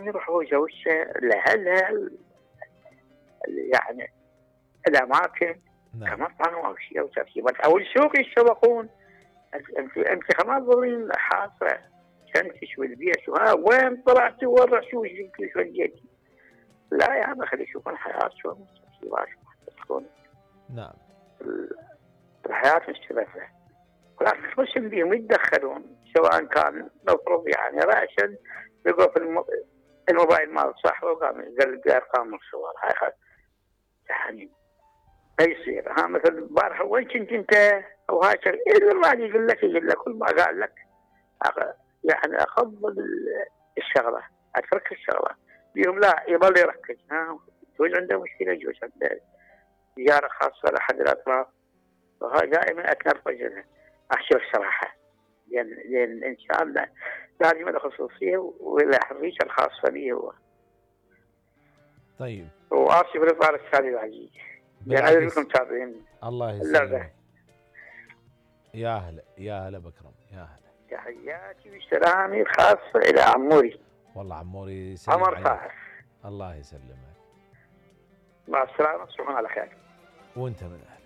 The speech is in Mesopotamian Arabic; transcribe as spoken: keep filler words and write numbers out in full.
يروح هو وزوجته لهلا يعني الاماكن نعم. كمطعم او شيء او ترتيبات او السوق يتسوقون. انت انت ما تظلين حاصه شنتش والبيت وها وين طلعتي وين رحتي وش جبتي وش وديتي. لا يا عمي خلي يشوفون حياتهم تكون نعم. الحياه مستمره ولكن تخشن بيهم يتدخلون سواء كان مفروض يعني رأسا يقول في الموبايل مال صاحبه وقام يقلب ارقام الصور هاي خل يعني ما يصير. ها مثل البارحه وين كنت انت او هاي الراجل يقول لك يقول لك كل ما قال لك يعني افضل الشغله اترك الشغله بيهم لا يظل يركز. ها يجوز عنده مشكله يجوز عنده زياره خاصه لاحد الاطراف وهاي دائما اتنرفز لها احكي لك صراحه لان لان الانسان لازم له خصوصيه وله حريته الخاصه به هو. طيب واسف لطال السادة العزيز يعني لكم تابعين الله يسلمك. يا هلا يا هلا بكرم يا هلا. تحياتي وسلامي الخاصه الى عموري. والله عموري يسلم عمر عليك. طاهر. الله يسلمك. مع السلامه تصبحون على خير. وانت من أهل.